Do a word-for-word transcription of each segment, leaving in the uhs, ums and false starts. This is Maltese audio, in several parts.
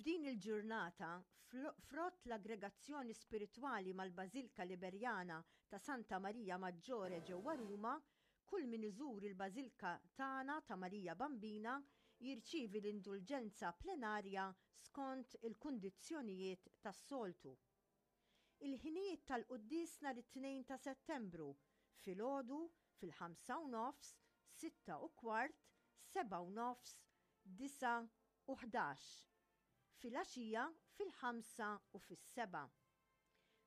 F'din il-ġurnata, frott l-aggregazzjoni spiritwali mal-Bażilka Liberjana ta' Santa Marija Maggiore ġewwa Ruma, kull min iżur il-Bażilka tagħna ta' Marija Bambina jirċievi l-indulġenza plenarja skont il-kundizzjonijiet tas-soltu. Il-ħinijiet tal-quddies nhar it-tnejn ta' Settembru, filgħodu fil-ħamsa u nofs, sitta u kwart, sebgħa u nofs, disgħa u ħdax. Filgħaxija fil-ħamsa u fis-sebgħa.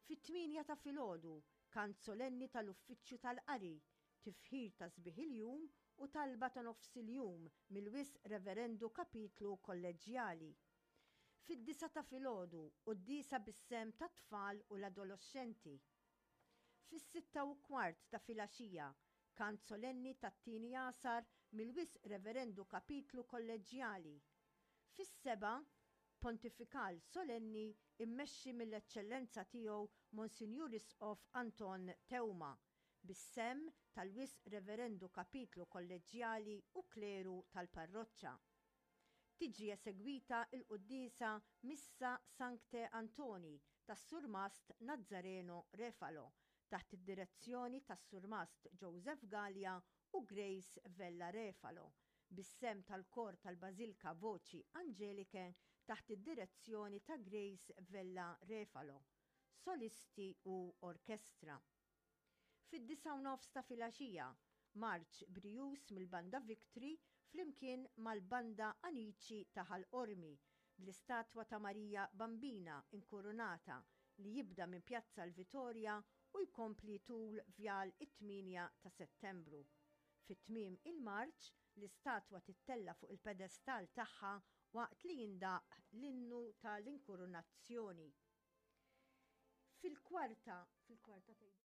Fit-tmienja ta' filgħodu, kant solenni tal-Uffiċċju tal-Qari, tifħir ta' sbieħ il-jum u talba ta' nofs il-jum mill-Wisq Reverendu Kapitlu Kolleġġjali. Fid-disgħa ta' filgħodu, quddiesa bis-sehem tat-tfal u l-adoloxxenti. Fis-sitta u kwart ta' filgħaxija, kant solenni tat-tieni għasar mill-Wisq Reverendu Kapitlu Kolleġġjali. Fis-sebgħa, pontifikal solenni immexxi mill-Eċċellenza Tiegħu Monsinjur Isqof Anton Teuma, bis-sehem tal-Wisq Reverendu Kapitlu Kolleġġjali u kleru tal-parroċċa. Tiġi esegwita l-quddiesa Missa Sancte Antoni tas-Surmast Nazzareno Refalo taħt id-direzzjoni tas-Surmast Joseph Galea u Grace Vella Refalo, bis-sehem tal-Kor tal-Bażilka Voci Angeliche taħt id-direzzjoni ta' Grace Vella Refalo, solisti u orkestra. Fid-disgħa u nofs ta' filgħaxija, marċ brijuż mill-Banda Victory flimkien mal-Banda Anici ta' Ħal Qormi bl-istatwa ta' Marija Bambina inkurunata li jibda minn Pjazza l-Vitorja u jkompli tul Vjal it-tmienja ta' Settembru. Fi tmiem il-marċ, l-istatwa tittella' fuq il-pedestall tagħha waqt li jindaqq l-innu tal-inkurunazzjoni. Fil-kwarta, fil-kwarta tgħidu.